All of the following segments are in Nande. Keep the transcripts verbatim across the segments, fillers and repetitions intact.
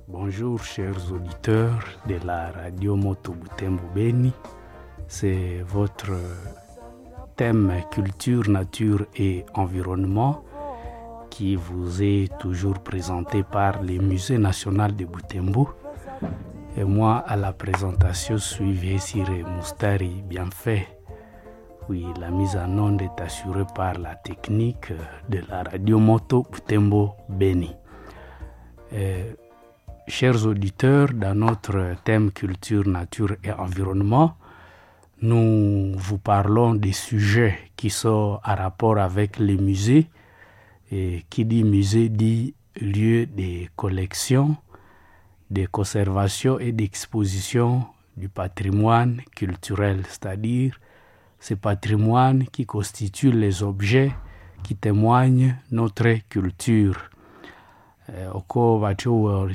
Bonjour chers auditeurs de la radio Moto Butembo Beni. C'est votre thème culture, nature et environnement qui vous est toujours présenté par le Musée national de Butembo. Et moi, à la présentation, suivez Siré Moustari Bienfait. Oui, la mise en onde est assurée par la technique de la radio Moto Butembo Beni. Euh, chers auditeurs, dans notre thème culture, nature et environnement, nous vous parlons des sujets qui sont à rapport avec les musées. Et qui dit musée dit lieu de collection, de conservation et d'exposition du patrimoine culturel, c'est-à-dire ce patrimoine qui constitue les objets qui témoignent notre culture. Eh, oko batyo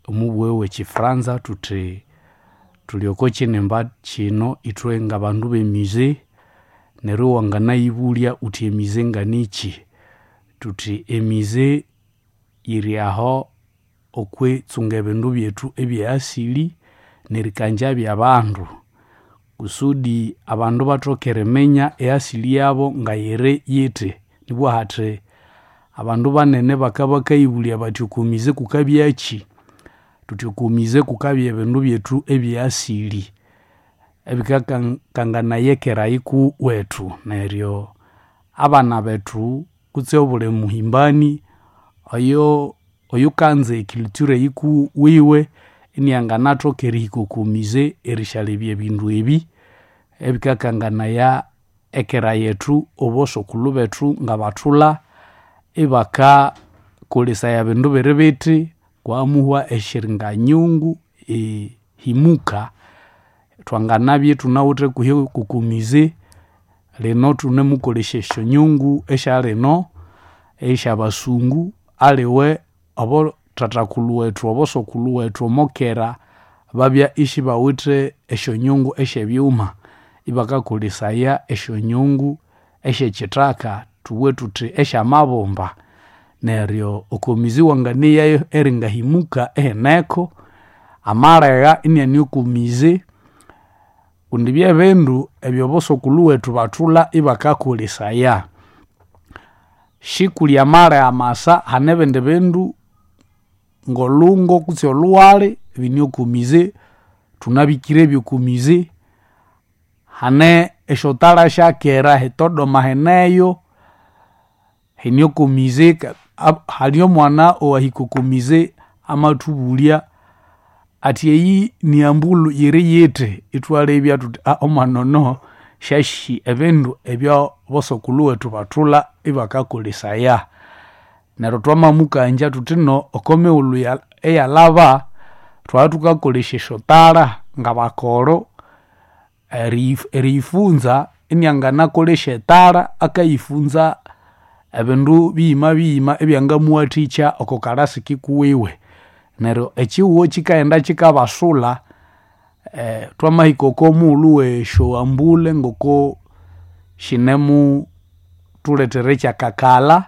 omubwewe chifranza tuti tulioko chinemba chino ithwe nga bandu b'emusée neryo wanganayibulya uthi emusée nganichi tuthi emusée yiri aho okwitsunga ebindu byethu ebyeasili nerikanja byabandu kusudi abandu bathoke eriminya easili yabo ngayiri yithi nibwa hathi abandu banene bakabakayibulya bathi oko musée kukabyakyi thuthi oko musée kukabya ebindu byethu ebyeasili ebikakanganaya ekera yikuwethu neryo abana bethu kutse obuli muhimbani oyo oyukanza eculture yikuwiwe inianganathoka erihika oko musée erishalebya ebindu ebi ebikakanganaya ekera yethu obosokulhu bethu ngabathulha ibakakolesaya bindu biri bithi kwamuhwa eshiringanyungu ehimuka thwanganabya ithunawithe kuhi koko musée lino thunemukolesya esyonyungu esyalino esyabasungu aliwe abo thathakulhu wethu obosokulhu wethu omokera babya isibawithe esyonyungu esyebyuma ibakakolesaya esyonyungu esyekyithaka thubughe thuthi esyamabumba neryo oko musée wanganeyayo eringahimuka ihineko amalegha iniane oko musée kundi byebindu ebyobosokulhu wethu bathulha ibakakolesaya shikuli amalegha amasa hane ebindi bindu ngolungo kutse olhughali bine oko musée thunabikire oko musée hane esyotala syakera hitodoma hineyo hine oko musée hali omwana owahika oko musée amathubulya athi eyi niambulhu yiri yithi ithwalebya thuthi aa omwana ono syasi ebindu ebyabosokulhu wethu bathulha ibakakolesaya neryo twamamukangya thuthi no oko mighulhu eyalhaba thwabya thukakolesya esyotala ngabakolho eriyifunza inianganakolesya etara akayifunza ebindu biyima biyima ebyangamuwathikya oko kalasi kikuwiwe neryo ekyihugho kyikaghenda kyikabasulha eh, twamahika oko mughulhu wesyoambule ngoko shinemuthulethera ekyakakalha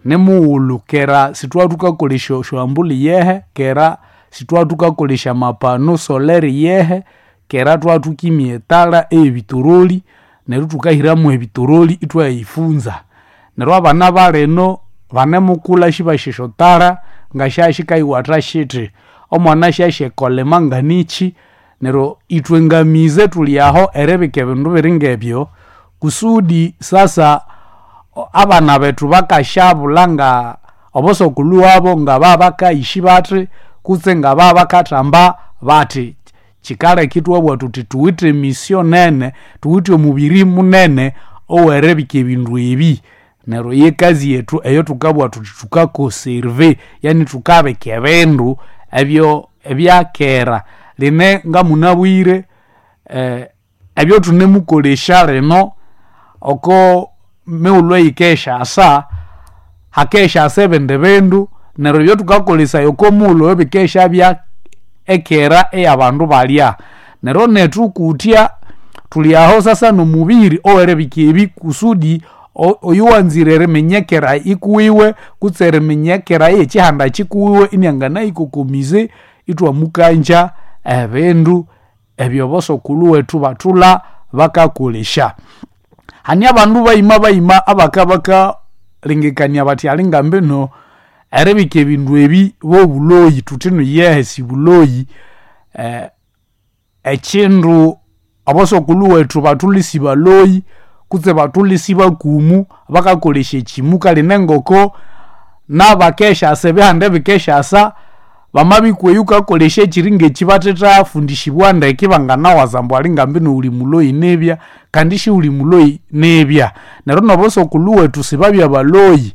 nimughulhu kera sithwabya thukakolesya esyoambule yehe kera sithwabya thukakolesya amapano solaire yehe kera thwabya thukimya etara eyebitoroli neryo thukahiramu ebitoroli ithwayayifunza neryo abana balino banemukulha sibasi esyotara ngasyasyikayiwatha shithi omwana syasi ekolema nganikyi neryo ithwe ngamize thuli aho eribika ebindu biringebyo kusudi sasa abana bethu bakasyabulha nga obosokulhu wabo ngababakayishi bathi kutse ngababakathamba bathi kyikaleka ithwabugha thuthi thuwithe emission nene thuwithe omubiri munene oweribika ebindu ebi neryo yekazi yethu eyo thukabugha thuthi thukaconserve yani thukabika ebindu ebyo ebyakera line ngamunabwire eh, ebyotunemukolesya lino oko mighulhu eyikesyasa hakesyasa ebindi bindu neryo ebyothukakolesaya oko mughulhu oyo bikesyabya ekera eyabandu balya neryo nethu kutya thuli aho sasa nomubiri oweribika ebi kusudi Oyo wanzire eriminyekera ikuwiwe kutse eriminyekera yekihanda kikuwiwe inianganayikokomize itwamukanja ebindu ebyo bosokulhu wethu bathulha bakakolesya. Hane abandu bayima bayima abakabakalengekania bathi alingambino eribika ebindu ebi bwobuloyi, thuthino yehe sibuloyi. Eh, ekindu abosokulhu wethu bathulha isibaloyi kutse bathulha isibakumu bakakolesya ekimu kale nengoko nabakeshasa ebihanda ebikeshasa bamabikwa eyo wukakolesya ekyiri ngekyi bathetafundishibwa ndeke banganawaza ambu alingambino wuli muloyi nibya kandi siwuli muloyi nibya. Neryo nobosokulhu wethu sibabya baloyi,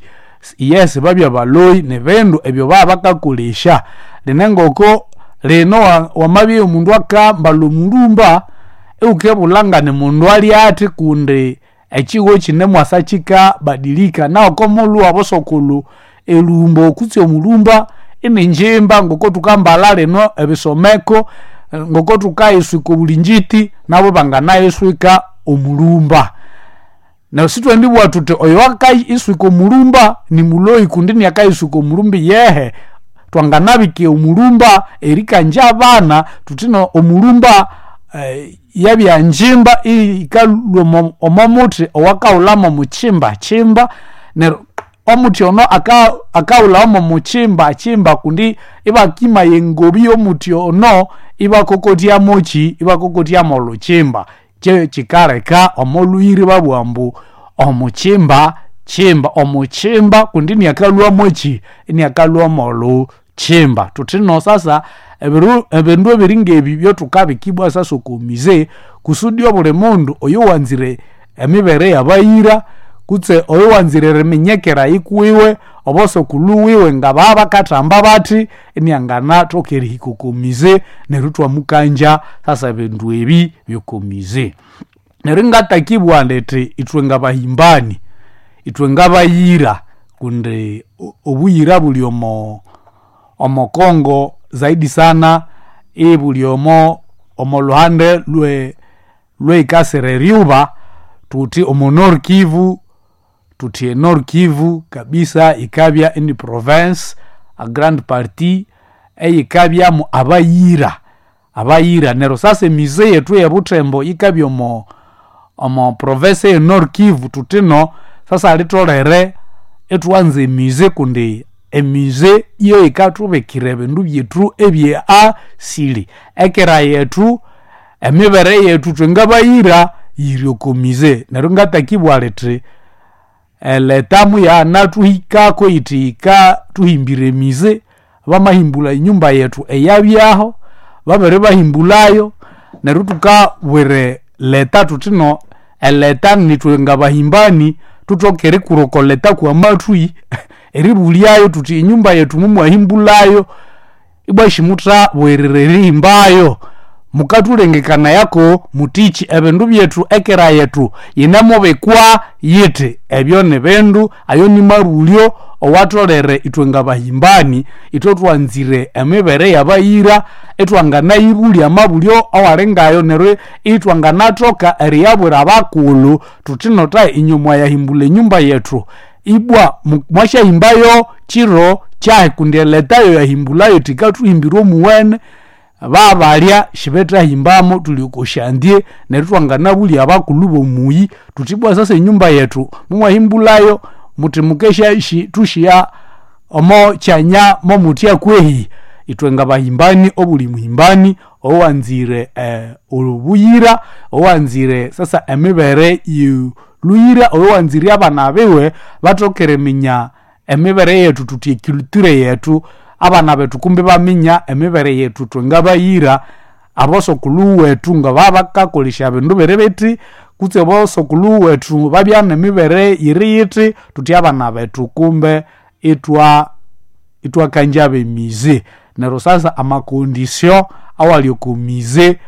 yes sibabya baloyi nibindu ebyo babakakolesya. Lino engoko lino wamabya omundu akambalha omulhumba iwukibulha nganimundu alyathi kundi ekihugho kyinemwasa kyikabadilika. Nahu okomughulhu wabosokulhu elhumbo kutse omulhumba iningyimba ngokothukambalha lino ebisomeko, ngokothukayiswika obulinjiti nabo banganayiswika omulhumba. Neryo sithwendibugha thuthi oyo wakayiswika omulhumba nimuloyi kundi iniakayiswika omulhumba iyehe. Twanganabika omulhumba erikangya abana thuthino omulhumba eh, yabya ngyimba iyikalhwa omomuthi owakahulha momukyimba kyimba. Neryo omuthi ono akahulhawa momukyimba kyimba kundi ibakimaya engobi yomuthi ono ibakokotyamoki ibakokotyamu olhukyimba. Kyekyikaleka omolhuyira ibabugha ambu omukyimba kyimba, omukyimba kundi iniakalhwamoki iniakalhwa molukyimba. Thuthino sasa ebiru ebindu ebiringebi byothukabika ibwa sasa okomize kusudi obuli mundu oyowanzire emibere yabayira kutse oyowanzire eriminyekera yikuwiwe obosokulhu wiwe ngababakathamba bathi inianganathoka erihika okomize neryo ithwamukangya sasa ebindu ebi byokomize. Neryo ingatakibugha indi ithwe ngabahimbani, ithwe ngabayira kundi obuyira buli omo omo Congo zaidi sana ibuli omo omolhuhande lwe lweikasira eryuba thuthi omo Nord Kivu, thuthi e Nord Kivu kabisa yikabya ini province a grande partie eyikabyamu abayira, abayira. Neryo sasa emize yethu eyebuthembo yikabya omo omo province eye Nord Kivu thuthino sasa litholere ithwanza emize kundi emize yeyikathubikira ebindu byethu ebye asili. Ekera yethu emibere yethu ithwe ngabayira yiri okomize. Neryo ngatakibugha lithi eleta muyanathuhikako yithi yikathuhimbira emize, bamahimbulha enyumba yethu eyabyaho babiribahimbulhayo neryo thukabwira leta thuthino eleta nithwe ngabahimbani thuthoke erikura oko leta kwamathwi eribulyayo thuthi enyumba yethu mumwahimbulhayo ibwa simuthabwerere erihimbayo mukathulengekanayako muthiki ebindu byethu ekera yethu yinemubikwa yithi. Ebyo nibindu ayo nimabulyo owatholere ithwe ngabahimbani ithwe thwanzire emibere yabayira ithwanganayibulya amabulyo awalingayo neryo ithwanganathoka eriyabwira abakulhu thuthino thayi inywe mwayahimbulha enyumba yethu ibwa mwasyahimbayo kiro kyahi kundi eleta yoyahimbulhayo thikathuhimbira omuwene babalya sibethahimbamo thuli okosyanzye neryo ithwanganabulya abakulhu bomuyi thuthi ibwa sasa enyumba yethu mumwahimbulhayo muthi mukesya thushiya omo kyanya momuthya kwehi. Ithwe ngabahimbani obuli muhimbani owanzire eh, obuyira owanzire sasa emibere yoluyira owanzire abana biwe bathoke eriminya emibere yethu thuthi eculture yethu abana bethu kumbi baminya emibere yethu ithwe ngabayira abosokulhu wethu ngababakakolesya bindu biri bithi kutse abosokulhu wethu babya nemibere yiri yithi thuthi abana bethu kumbe ithwa ithwakangya bemize. Neryo sasa amakondisio awali okomize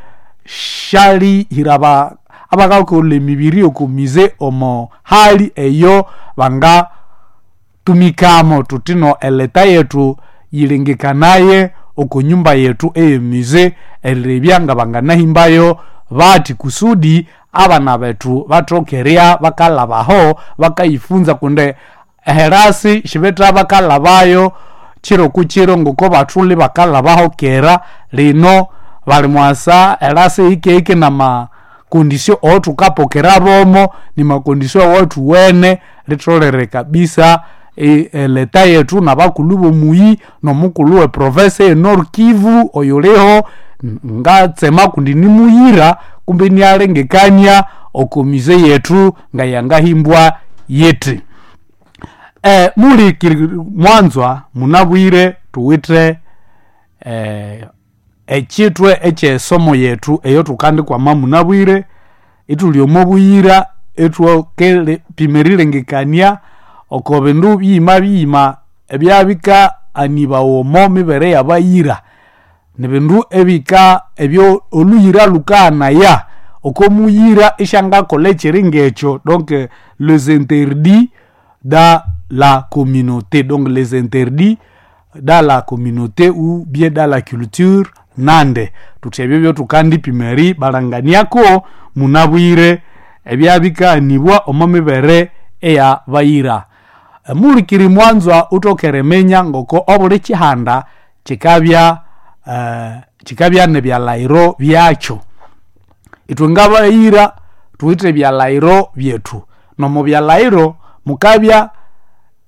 syalihira aba abakakolha emibiri yokomize omo hali eyo bangatumikamo thuthino eleta yethu yilengekanaye okonyumba yethu eyemize erilebya ngabanganahimbayo bathi kusudi abana bethu bathoke erya bakalhabaho bakayifunza kundi eherasi shibetha bakalhabayo kiro ku kiro ngoko bathuli bakalhabaho kera. Lino bali mwasa erasi hikehike namakondisio owathukapokera bomo nimakondisio awathuwene. Litholere kabisa eleta yethu nabakulhu bomuyi nomukulhu we province ye Nord Kivu oyuliho ngatsema kundi nimuyira kumbe inalengekania oko mize yethu ngayangahimbwa yithi. E, mulikiri mwanzwa munabwire thuwithe eh, ekyithwe ekyesomo yethu eyotukandikwama munabwire ithuli omo buyira ithwakepima erilengekania oko bindu biyima biyima ebyabikaanibawa omo mibere yabayira. Nibindu ebika ebyo oluyira lukaghanaya oko muyira isyangakolha ekyiri ngekyo, donc les interdits dans la communauté, donc les interdits dans la communauté ou bien dans la culture nande. Thuthi ebyo byothukandipima eribalanganiako munabwire ebyabikaanibwa omo mibere eyabayira. Mulikiri mwanzwa wuthoke eriminya ngoko obuli kyihanda kyikabya eh, kyikabya nebyalhaghiro byakyo. Ithwe ngabayira thuwithe ebyalhaghiro byethu, nomo byalhaghiro mukabya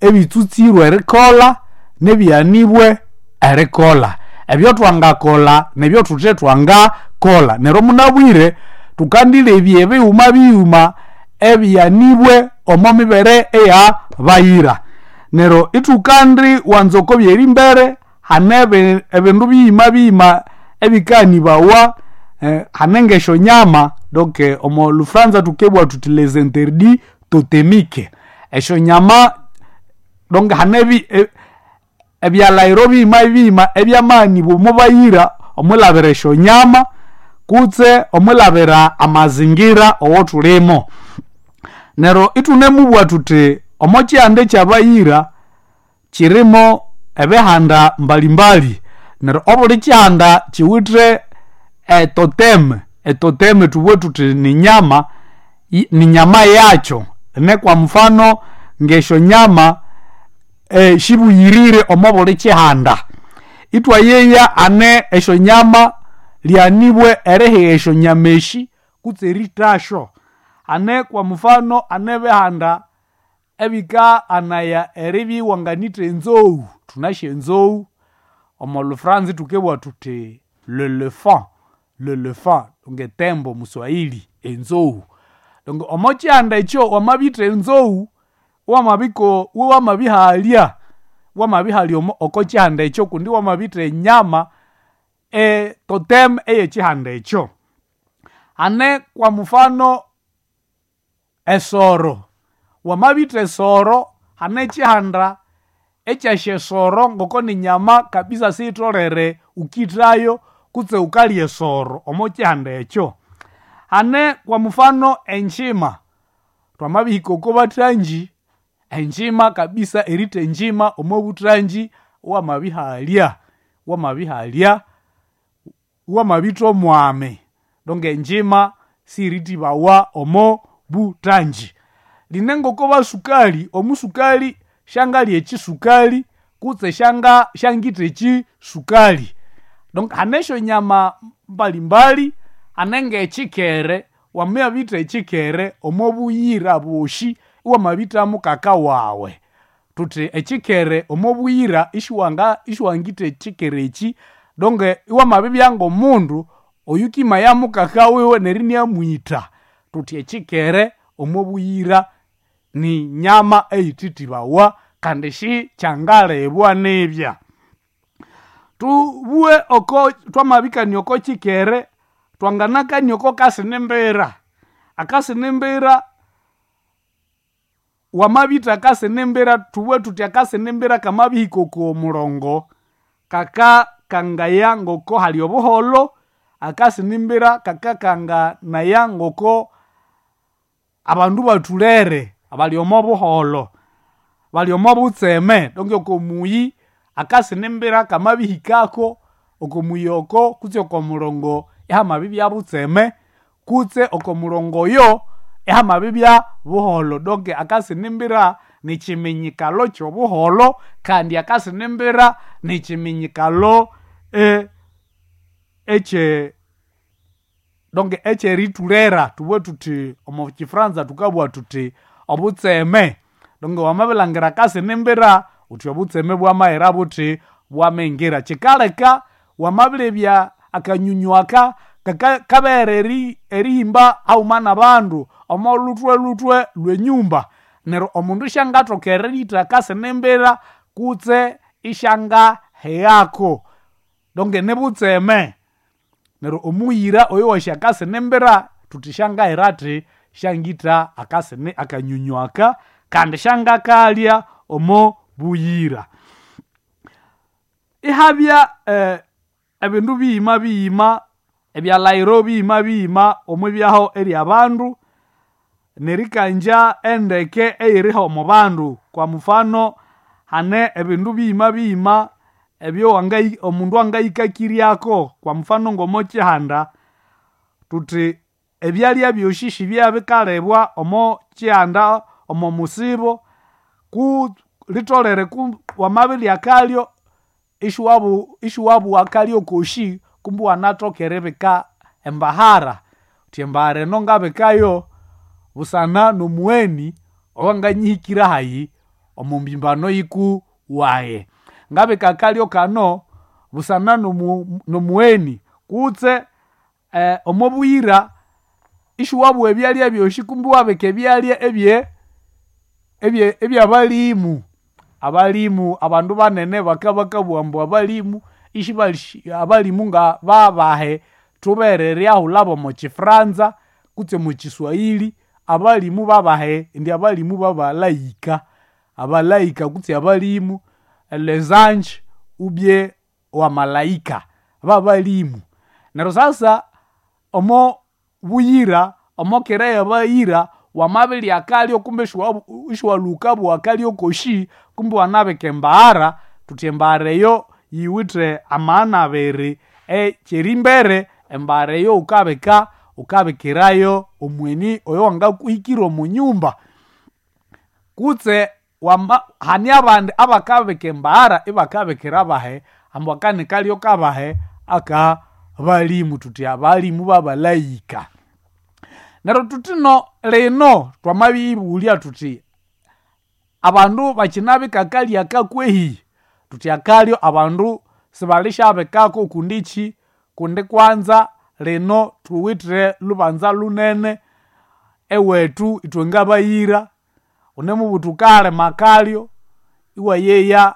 ebitsutsirwe erikolha nebighanibwe erikolha. Ebyothwangakolha nebyothuthe thwangakolha. Neryo munabwire thukandilebya ebighuma bighuma ebighanibwe omo mibere eyabayira. Neryo ithukandi wanza oko byerimbere hane ebindu biyima biyima ebikanibawa eh, hane ngesyonyama, donc omo lufranza thukebugha thuthi les interdits totémiques. Esyonyama donc hane e, ebyalhaghiro biyima biyima ebyamaghanibawa omo bayira omwilhabira esyonyama kutse omwilhabira amazingira owothulimo. Neryo ithunemubugha thuthi omo kyihanda ekyabayira kyirimo ebihanda mbalimbali. Neryo obuli kyihanda kyiwithe etoteme. Etoteme thubughe thuthi ninyama ninyama yakyo. Ne kwa mfano ngesyonyama e, shibuyirire omo buli kyihanda. Ithwayeya ane esyonyama lyanibwe erihigha esyonyama esi kutse erithasyo. Hane kwa mfano hane ebihanda ebikaghanaya eribya iwanganitha enzoghu. Thunasi enzoghu omo lufranza thukebugha thuthi l'elephant, l'elephant ngetembo muswahili enzoghu. Donc omo kyihanda ekyo wamabitha enzoghu wamabiko wamabihalya wamabihalya oko kyihanda ekyo kundi wamabitha enyama e totem eyekyihanda ekyo. Hane kwa mfano esoro, wamabitha esoro hane ekyihanda ekyasya esoro ngoko ninyama kabisa siyitholere wukithayo kutse wukalya esoro omo kyihanda ekyo. Hane kwa mfano engyima, thwamabihika oko bathangi engyima kabisa eritha engyima omo buthangi wamabihalya wamabihalya wamabitha omwami, donc engyima siyirithibawa omo buthangi. Line ngoko basukali, omusukali syangalya ekyisukali kutse syanga syangitha ekyisukali. Donc hane esyonyama mbalimbali, hane ngekyikere, wamabitha ekyikere omo buyira bwosi iwamabitha mukaka wawe. Thuthi ekyikere omo buyira isiwanga isiwangitha ekyikere ekyi, donc iwamabibya ngomundu oyukimaya mukaka wiwe neryo iniamwitha. Thuthi ekyikere omo buyira ni nyama eyithithibawa kandi sikyangalibwa nibya. Thubughe oko thwamabikania oko kyikere thwanganakania oko kasinimbira. Akasinimbira wamabitha akasinimbira thubughe thuthi akasinimbira kamabihika oko mulongo kakakangaya ngoko hali obuholho, akasinimbira kakakanganaya ngoko abandu bathulere bali omo buholho, bali omo butseme. Donc oko muyi akasinimbira kamabihikako oko muyi oko kutse oko mulongo ihamabibya butseme Kutse oko mulongo oyo ihamabibya buholo. Donke akasinimbira nikyiminyikalo kyobuholo, kandi akasinimbira nikyiminyikalo e, ekye donke ekyeritulera. Tubwe tuthi omo kifranza tukabugha tuthi obutseme. Donke wamabilangira akasinimbira uthi obutseme bwamaghera buthi bwamengira. Kyikaleka wamabilebya akanyunyu aka kaka kabere eri erihimba haghuma n'abandu omo luthwe luthwe lw'enyumba. Neryo omundu isyangathoka eritha akasinimbira kutse isyangaheghako. Donke nibutseme. Neryo omuyira oyo wasi akasinimbira thuthi syangahera athi syangitha akasini akanyunyu aka kandi syangakalya omo buyira. Ihabya eh, ebindu biyima biyima ebyalhaghiro biyima biyima omwibyaho ery'abandu nerikanja endeke eyiriho omo bandu. Kwa mufano hane ebindu biyima biyima ebyo wangayi omundu angayikakiryako. Kwa mufano ng'omo kyihanda thuthi ebyalya byosi sibyabikalebwa omo kyihanda omo musibo ku litholere ku wamabirya akalyo ishiwabu ishiwabugha akalyo koshi kumbe iwanathoka eribika embahara. Uthi embahara eno ngabikayo busana n'omugheni owanganyihikira hayi omo mbimbano yiku wayi. Ngabika akalyo kano busana n'omu n'omugheni kutse eh, omo buyira ishiwabugha ebyalya byosi kumbe iwabika ebyalya ebye ebye ebyabalimu. Abalimu abandu banene bakabakabugha ambu abalimu ishibali abalimu nga babahe thubere eryahulhabo omo kifranza kutse omo kiswahili. Abalimu babahe indi abalimu babalayika, abalayika kutse abalimu les anges ubye wamalaika babalimu. Neryo sasa omo buyira omo kera y'abayira wamabirya akalyo kumbe ishiwalhuka bugha akalyo koshi kumbe iwanabika embahara. Thuthi embahara eyo yiwithe amaghana abiri, ekyerimbere embahara eyo wukabika wukabikirayo omugheni oyo wangakuhikira omo nyumba. Kutse wama hane abandi abakabika embahara ibakabikira abahe ambu aka ni kalyo kabahe aka balimu. Thuthi abalimu babalayika. Neryo thuthino lino twamabiyibulya thuthi abandu bakyinabika akalyo aka kwehi? Thuthi akalyo abandu sibalisyabikako kundikyi kundi kwanza lino thuwithe lubanza lunene ewethu ithwe ngabayira. Wunemubuthi wukahalima akalyo iwayeya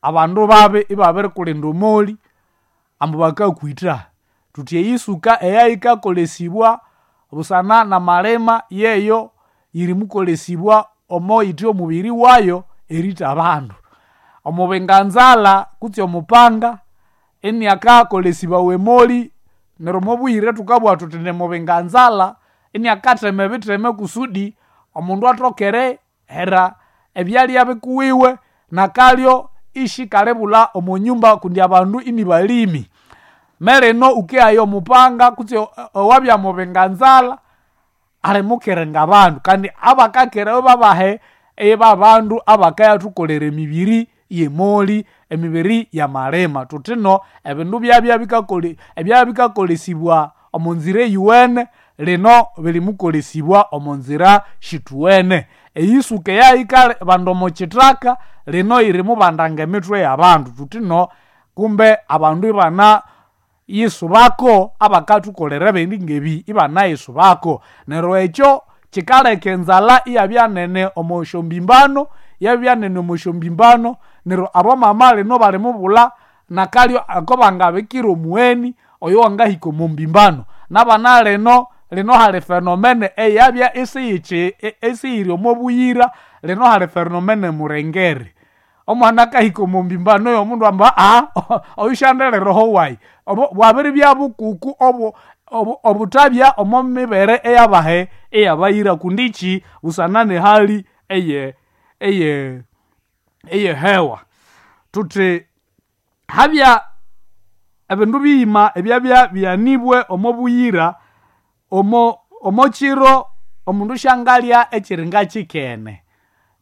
abandu babi ibabirikulinda omoli ambu bakakwitha. Thuthi eyisuka eyayikakolesibwa busana n'amalima yeyo yirimukolesibwa omo yithe omubiri wayo eritha abandu. Omubinganzalha kutse omupanga iniakakolesibawa emoli. Neryo omobuyira thukabugha thuthi nimubinganzalha iniakathema ebitheme kusudi omundu athoke erihera ebyalya bikuwiwe nakalyo ishikalibulha omo nyumba kundi abandu inibalimi. Melino wukeghaya omupanga kutse owabya mubinganzalha alimukiringa abandu kandi abakakirayo babahe ibabandu abakayathukolera emibiri y'emoli, emibiri y'amalima. Thuthino ebindu byabya bikakole ebyabya bikakolesibwa omo nzira eyuwene lino birimukolesibwa omo nzira syithuwene. Eyisuka eyayikabanda omo kyithaka lino yirimubandanga emithwe y'abandu. Thuthino kumbe abandu ibana yisubako abakathukolera ebindi ngebi ibanayisubako. Neryo ekyo kyikaleka enzalha iyabya nene omo syombimbano, yabya nene omo syombimbano. Neryo abamama lino balimubulha nakalyo ako bangabikira omugheni oyo wangahika omo mbimbano. N'abana lino lino hali fenomene eyabya isiyikyi isiyiri omo buyira. Lino hali fenomene murengere. Omwana akahika omo mbimbano y'omundu amba aha oyu syandireho wayi. Obo bwabiribya bukuku obu obuthabya omo mibere eyabahe eyabayira kundikyi busana n'ehali eye eye eyehewa. Thuthi habya ebindu biyima ebyabya bighanibwe omo buyira omo omochiro omundu syangalya ekiringa kikene.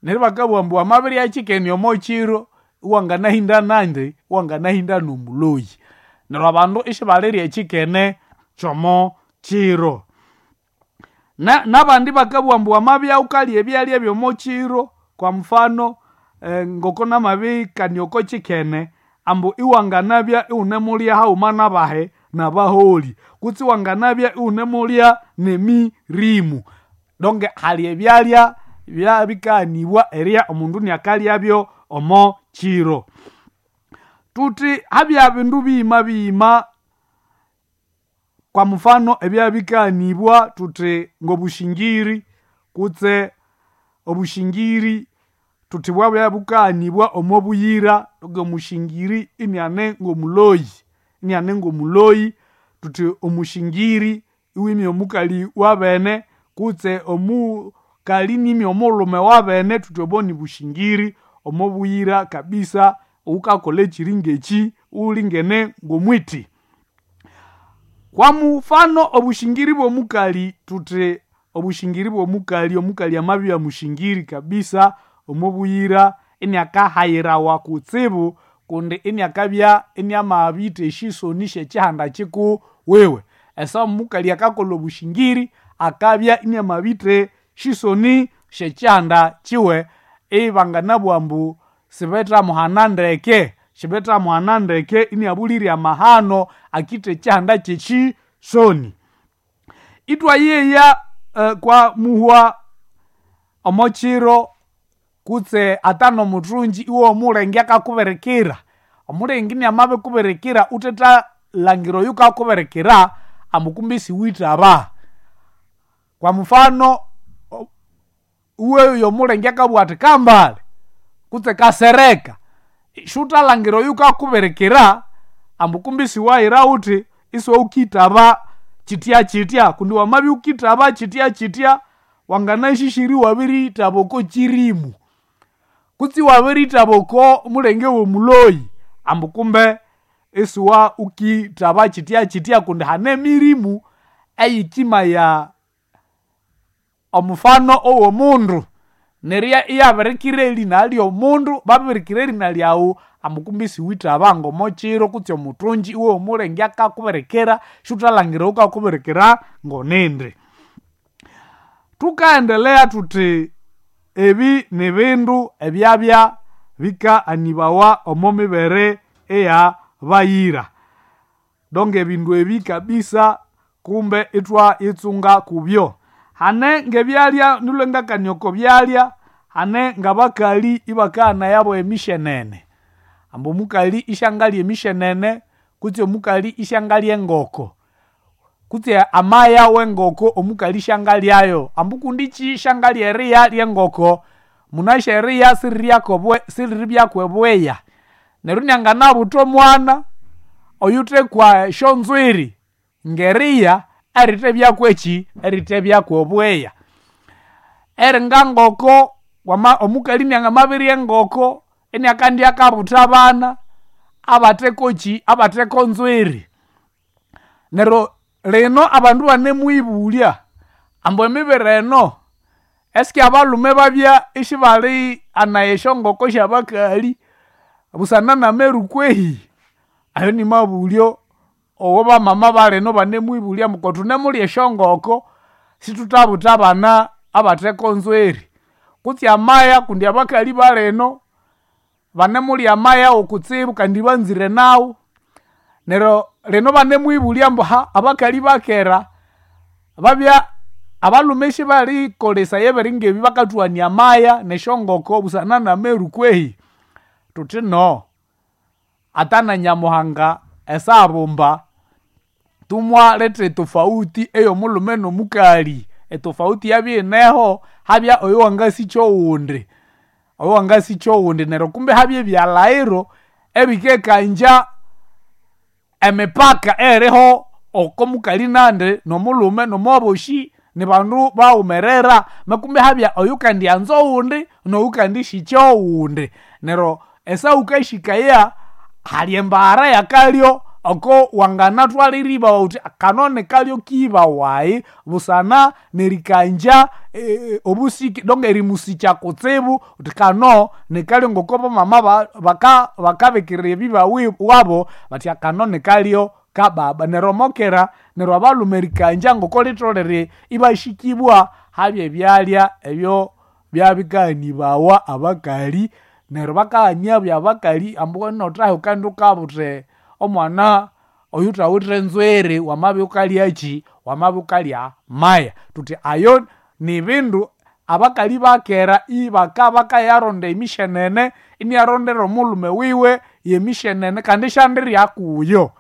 Neryo bakabugha ambu wamabirya kikene omochiro iwanganahinda nandi iwanganahinda nomuloyi. Neryo abandu isibalirya ekikene kyomo kiro. Na nabandi bakabugha ambu wamabya wukalya ebyalya ebyomo kiro kwa mfano eh, ngoko namabikania oko kikene ambu iwanganabya iwunemulya haghuma nabahe nabaholi kutse iwanganabya iwunemulya nemirimu. Donc hali ebyalya byabikaanibwa erya omundu niakalyabyo omo kiro. Tuthi habya bindu biyima biyima kwa mfano ebyabikaanibwa tuthi ngobushingiri kutse obushingiri tuthi bwabya bukaanibwa omo buyira ngomushingiri iniane ngomuloyi iniane ngomuloyi tuthi omushingiri iwimya omukali wabene kutse omukali nimya omulhume wabene tuthi obo nibushingiri omo buyira kabisa wukakolha ekyiri ngekyi wulingene ngomwiti. Kwa mufano obushingiri bw'omukali tuthi obushingiri bw'omukali omukali amabya mushingiri kabisa omo buyira iniakahayirawa kutsibu kundi iniakabya iniamabitha esyisoni syekyihanda kikuwiwe. Esa omukali akakolha obushingiri akabya iniamabitha esyisoni syekyihanda kiwe ibanganabugha ambu sibethamuhana ndeke sibethamuhana ndeke iniabulirye amahano akitha ekyihanda kyekyisoni. Ithwayeya eh, kwa muhwa omo kiro kutse ata nomuthungi iwe omulenge akakubirikira. Omulenge iniamabikubirikira wuthethalhangira oyukakubirikira ambu kumbe isiwithaba. Kwa mfano iwe omulenge akabugha athi kambale kutse kasereka siwuthalhangira oyukakubirikira ambu kumbe isiwahira wuthi isiwawukithaba kyithya-kyithya kundi wamabya wukithaba kyithya-kyithya wanganashishi iwabirithaba oko kyirimu kutse iwabirithaba oko mulenge womuloyi ambu kumbe isiwa wukithaba kyithya-kyithya kundi hane emirimu eyikimaya omufano owomundu neryo iyabirikira erina lyomundu babirikira erina lyawu ambu kumbe isiwithaba ngomokiro kutse omuthungi iwe omulenge akakubirikira siwuthalhangira oyukakubirikira ngonindi. Thukaendelea thuthi ebi nibindu ebyabya bikaanibawa omo mibere eya bayira. Donc ebindu ebi kabisa kumbe ithwayitsunga kubyo. Hane ngebyalya nilwe ngakania oko byalya hane ngabakali ibakaghana emishenene. Ambu omukali isyangalya emishenene kutse omukali isyangalya engoko kutse amaya wengoko omukali isyangalyayo. Ambu kundi kyi isyangalya eriya lyengoko munasi eriya siriribyaku ebweya. Neryo inianganabutha omwana oyuthekwa esyonzwiri ngeriya erithebyaku ekyi erithebyaku obweya. Eringa ngoko wama omukali iniangamabirya engoko iniakandya akabutha abana abathekokyi abatheko nzwiri. Neryo lino abandu banemuyibulya ambu emibere eno eski abalhume babya isibali anaya esyongoko syabakali busana nameru kwehi? Ayo nimabulyo owo bamama balino banemwibulya ambu kothunemulya esyongoko sithuthabutha abana abatheko nzwiri. Kutse amaya kundi abakali balino banemulya amaya wokutsibu kandi banzire nawu. Neryo lino banemwibulya ambu ha abakali bakera babya abalhume isibalikolesaya ebiringa ebi bakathughania amaya nesyongoko busana nameru kwehi? Thuthi no ata na Nyamuhanga esabumba tumwaletha etofauti eyomulhume nomukali. Etofauti yabya iyineho habya oyowangasikya owundi oyowangasikya owundi neryo kumbe habya ebyalhaghiro ebikekangya emipaka eyiriho oko mukali nandi nomulhume nomwaboshi nibandu baghumerera makumbe habya oyukandyanza owundi noyukandisikya owundi. Neryo esa wukashikaya hali embaghara yakalyo oko wanganatwalira iba uthi kano nikalyo kiba wayi busana nerikanja e, obusiki donc erimusikya kutsibu uthi kano nikalyo ngoko bamama baka bakabikirira ebiba wabo bathi kano nikalyo kababa. Neryo omokera neryo abalhume erikanja ngoko litholere ibashikibwa habya ebyalya ebyo byabikanibawa abakali. Neryo bakaghania abakali ambu nothahe ukandi ukabuthe omwana oyuthawithe nzwiri wamabya wukalyakyi wamabya wukalya maya. Thuthi ayo nibindu abakali bakera ibaka bakayaronda emishenene iniyarondera omulhume wiwe yemishenene kandi isyandirya kuyo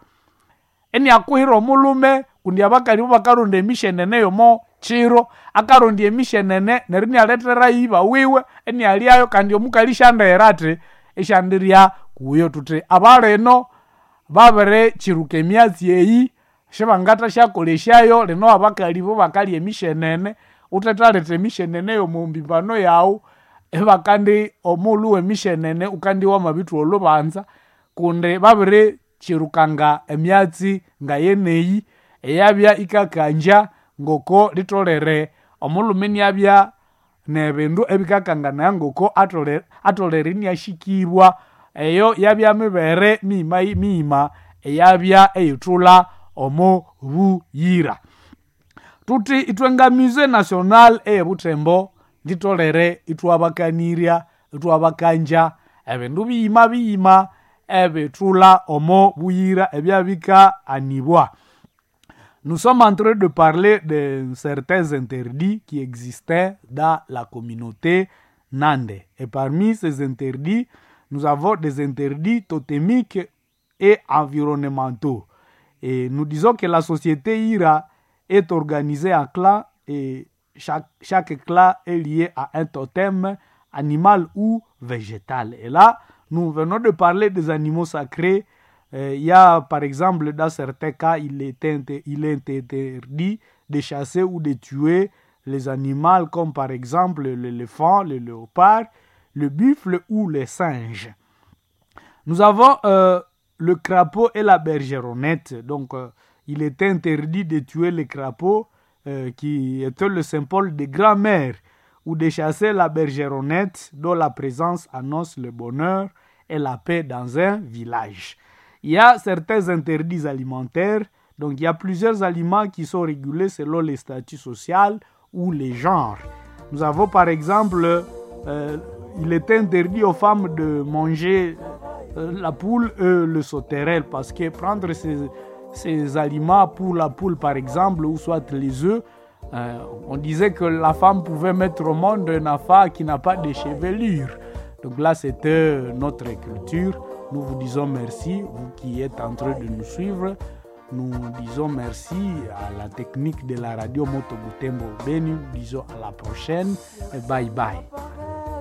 iniakuhira omulhume kundi abakali bo bakaronda emishenene yomo kiro akarondya emishenene neryo inialethera iba wiwe inialyayo kandi omukali isyandighira athi isyandirya kuyo. Thuthi abalino babirikiruka emyatsi eyi sibangathasyakolesyayo. Lino abakali bo bakalya emishenene uthethaletha emishenene yomo yawu ibakandi omughulhu wemishenene ukandi wamabithuwa olhubanza kundi babirikyirukanga emyatsi ngayeneyi eyabya ikakanja ngoko litholere omulhume iniabya nebindu ebikakanganaya ngoko atholere atholere iniashikibwa. Eyo yabya mibere miyima miyima eyabya eyithulha omo buyira. Thuthi ithwe nga Musée National eyebuthembo litholere ithwabakanirya ithwabakanja ebindu biyima biyima ebithulha omo buyira ebyabikaanibwa. Nous sommes en train de parler de certains interdits qui existaient dans la communauté Nande. Et parmi ces interdits, nous avons des interdits totémiques et environnementaux. Et nous disons que la société Ira est organisée en clans et chaque, chaque clan est lié à un totem animal ou végétal. Et là, nous venons de parler des animaux sacrés. Euh, il y a, par exemple, dans certains cas, il est, inter, il est interdit de chasser ou de tuer les animaux comme par exemple l'éléphant, le léopard, le buffle ou les singes. Nous avons euh, le crapaud et la bergeronnette. Donc, euh, il est interdit de tuer le crapaud euh, qui était le symbole des grands-mères ou de chasser la bergeronnette dont la présence annonce le bonheur et la paix dans un village. Il y a certains interdits alimentaires. Donc, il y a plusieurs aliments qui sont régulés selon les statuts sociaux ou les genres. Nous avons par exemple, euh, il est interdit aux femmes de manger euh, la poule et le sauterelle parce que prendre ces, ces aliments pour la poule par exemple, ou soit les œufs, euh, on disait que la femme pouvait mettre au monde un enfant qui n'a pas de chevelure. Donc là, c'était notre culture. Nous vous disons merci, vous qui êtes en train de nous suivre. Nous disons merci à la technique de la radio Moto Butembo Beni. Nous disons à la prochaine et bye bye.